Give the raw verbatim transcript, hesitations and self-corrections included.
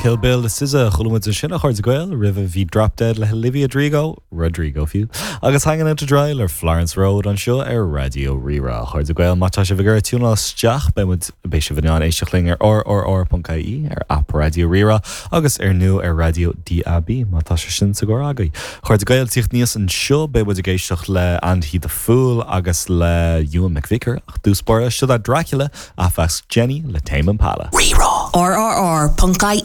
Kill Bill le SZA chuala muid sin a chairde Gael roimhe bhí Drop Dead le Olivia Rodrigo Rodrigo fiú agus Hanging Out to Dry le Florence Road anseo ar Raidió Rí-Rá chairde Gael má tá sibh ag tiúnáil isteach beidh beidh sibh in ann éisteacht linn ar rrr.ie ar app Raidió Rí-Rá agus ar nó ar raidió DAB má tá sé sin sa gcarr agaibh. Chairde Gael tíocht níos anseo beidh ag éisteacht le Andy the Fool agus le Ewan McVicker ach dúspóir seo Dracula Aphex Jenny le Tame Impala. Rí-Rá. RRR.ie